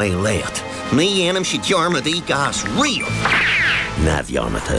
Mé leat, ní dhéanaimse dearmad íoc as riamh! Neamhdhearmadta.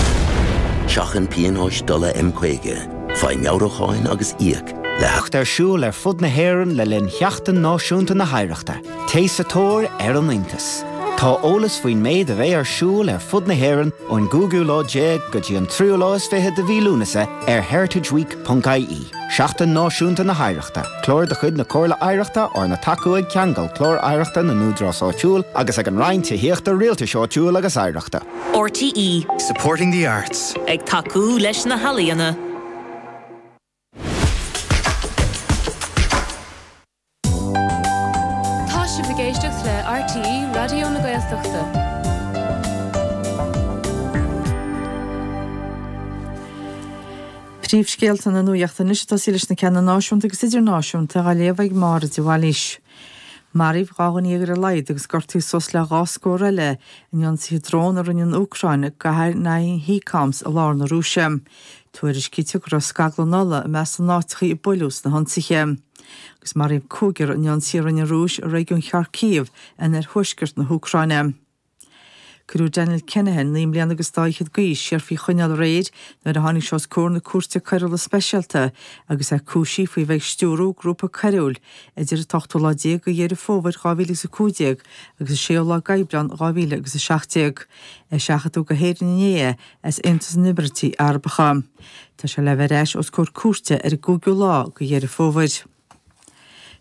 Seachain pionóis dola M50, faigh meabhrúcháin agus íoc le. Ar siúl ar fud na hÉireann le linn Sheachtain Náisiúnta na hOidhreachta. Téigh sa tóir ar an iontas! Tá eolas faoin méid a bheidh ar siúl ar fud na hÉireann ón gcúigiú lá déag go dtí an tríú lá is fiche de mhí Lúnasa ar heritageweek.ie. Seachtain Náisiúnta na hOidhreachta, clár de chuid na Comhairle Oidhreachta arna tacú ag Ceangal Clár Oidhreachta na nÚdarás Áitiúil agus ag an Roinn Tithíochta, Rialtais Áitiúil agus Oidhreachta. RTÉ. Supporting the arts. Ag tacú leis na healaíona. Tá sibh ag éisteacht le RTÉ Raidió na Gaeltachta. Príomhscéalta na nuachta anois ag tosaí leis na ceanna náisiúnta agus idirnáisiúnta á léamh ag Máire de Bhailís. Maraíodh 12 dhuine ar a laghad agus gortaíodh suas le dhá scór eile in ionsaithe drón a rinne an Úcráin i gcathair Nizhnekamsk i lár na Rúise. Tuairiscítear go raibh scaglann ola i measc na n-áiteachaí a buaileadh sna hionsaithe. Agus maraíodh cúigear in ionsaí a rinne an Rúis i réigiún Kharkiv in oirthuaisceart na hÚcráine. Cuireadh Daniel Kinahan, 9 mbliana agus dá fhichead d'aois, siar faoi choinneáil aréir nuair a tháinig sé os comhair na cúirte coiriúla speisialta agus é cúisithe faoi bheith ag stiúrú grúpa coiriúil idir an t-ochtú lá déag de Dheireadh Fómhair 2015 agus an séú lá d'Aibreán 2017. Seachadadh go hÉirinn inné é as Aontas na nÉimíríochtaí Arabacha. Tá sé le bheith ar ais os comhair cúirte ar an gcúigiú lá de Dheireadh Fómhair.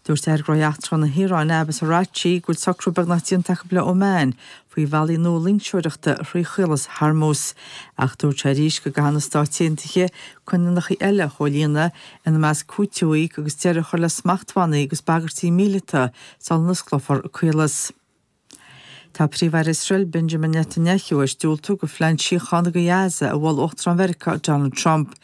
Dúirt Aire Gnóthaí Eachtracha na hIaráine, Abbas Araghchi, go bhfuil socrú beagnach déanta acu le Oman faoi bhealaí nua loingseoireachta thrí Chaolas Hormuz. Ach dúirt sé arís go gcaithfidh na Stáit Aontaithe coinníollacha eile a chomhlíonadh, ina measc cúiteamh a íoc agus deireadh a chur le smachtbhannaí agus bagairtí míleata sula n-osclófar an caolas. Tá Príomh-Aire Iosrael, Benjamin Netanyahu, théis diúltú do phlean síochána do Ghaza a mhol Uachtarán Mheiriceá Donald Trump.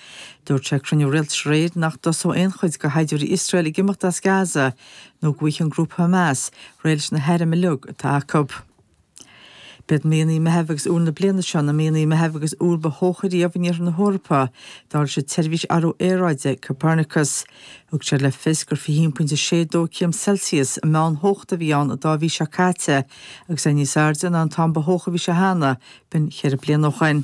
Dúirt sé ag cruinniú rialtais aréir nach dtosódh aon chuid de shaighdiúirí Iosrael ag imeacht as Gaza nó go bhfaighidh an grúpa Hamas réidh leis na hairm uilig atá acu. B'iad míonna Meitheamh agus Iúil na bliana seo na míonna Meitheamh agus Iúil ba theocha riamh in iarthar na hEorpa, dar leis an tseirbhís athrú aeráide, Copernicus. Thug sé le fios gur 21.62 céim Celsius an meán-theocht a bhí ann an dá mhí seo caite agus é níos airde ná an t-am ba theocha a bhí sé cheana, b'in cheithre bliana ó shoin.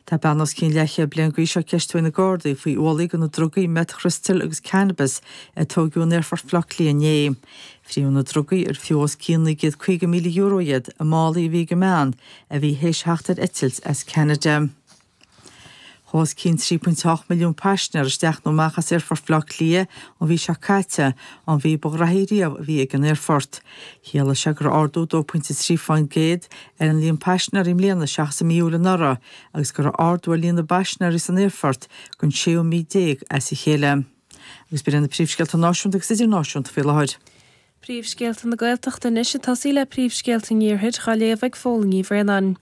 Tá bean os cionn leathchéad bliain d'aois á ceistiú ag na Gardaí faoi ualaí de na drugaí methcrystal agus cannabis a tóigeadh in Aerfort Bhaile Átha Cliath inné. Frítheadh na drugaí, ar fiú os cionn €950,000 iad, i málaí a bhí ag an mbean, a bhí théis theacht ar eitilt as Ceanada. Chuaigh os cionn 3.8 milliún paisinéir isteach nó amach as Aerfort Bhaile Átha Cliath an mhí seo caite, an mhí ba ghraithí riamh a bhí ag an aerfort. Chiallaigh sé go raibh ardú 2.3% ar an líon paisinéirí i mbliana seachas i mí Iúil anuraidh agus go raibh ardú ar líon na bpaisinéirí san aerfort don séú mí déag as a chéile. Agus b'in iad na príomhscéalta náisiúnta agus idirnáisiúnta faoi láthair. Príomhscéalta na Gaeltachta anois ag tosaí le príomhscéalta an Iarthair dhá léamh ag Fódhla Ní Bhraonáin.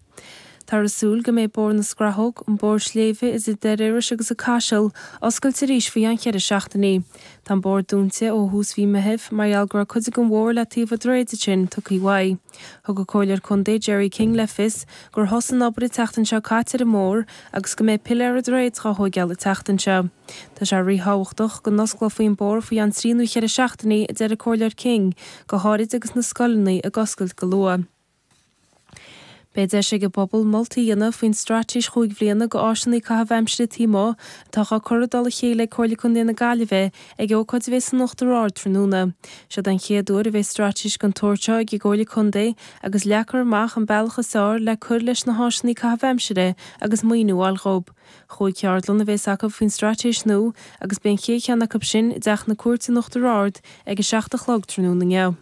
Táthar ag súil go mbeidh Bóthar na Scrathóg, an bóthar sléibhe idir Doire Iorrais agus an Caiseal, oscailte arís faoi cheann cheithre seachtainí. Tá an bóthar dúnta ó thús mhí Meithimh mar gheall go raibh cuid den bhóthar le taobh an droichid ansin tugtha uaidh. Thug an Comhairleoir Contae Gerry King le fios gur thosaigh an obair an tseachtain seo caite ar an mbóthar agus go mbeidh piléar an droichid dhá thóigeáil an tseachtain seo. Tá sé ríthábhachtach go n-osclófaí an bóthar faoi cheann trí nó cheithre seachtainí, a deir an Comhairleoir King, go háirid agus na scoileanna ag oscailt go luath. Beidh deis ag an bpobal moltaí a dhéanamh faoin straitéis chúig bhliana go áiseanna caitheamh aimsire taobh amuigh atá á cur i dtoll a chéile ag Comhairle Contae na Gaillimhe ag ócáid a bheidh san Uachtar Ard tráthnóna. Seod an chéad uair a bheidh straitéis den tsórt seo ag an gComhairle Contae agus leagfar amach an bealach is fearr le cur leis na háiseanna caitheamh aimsire agus maoiniú a fháil dhób. Chúig cheardlann a bheas acu faoin straitéis nua agus beidh an chéad cheann acu sin i dTeach na Cúirte in Uachtar Ard ag a 7 a chlog tráthnóna inniu.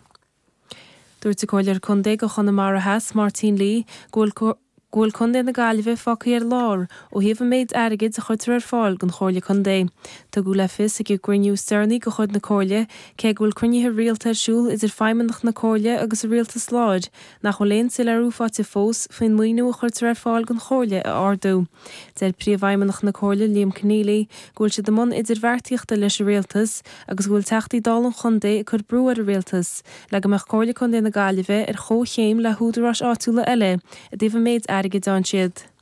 Dúirt an Comhairleoir Contae do Chonamara Theas, Máirtín Lee, go bhfuil go bhfuil Contae na Gaillimhe fágtha ar lár ó thaobh an méid airgid a chuirtear ar fáil don Chomhairle Contae. Tugadh le fios ag an gcruinniú is deireanaí de chuid na Comhairle, cé go bhfuil cruinnithe rialta ar siúl idir feidhmeannacht na Comhairle agus an Rialtas Láir, nach bhfuil aon soiléiriú faighte fós faoin maoiniú a chuirtear ar fáil don Chomhairle a ardú. Deir Príomhfheidhmeannach na Comhairle, Liam Conneally, go bhfuil siad i mbun idirbheartaíochta leis an Rialtas agus go bhfuil Teachtaí Dála an chontae ag cur brú ar an Rialtas le go mbeadh Comhairle Contae na Gaillimhe ar chomhchéim le húdaráis áitiúla eile i dtaobh an méid airgid a fhaigheann siad.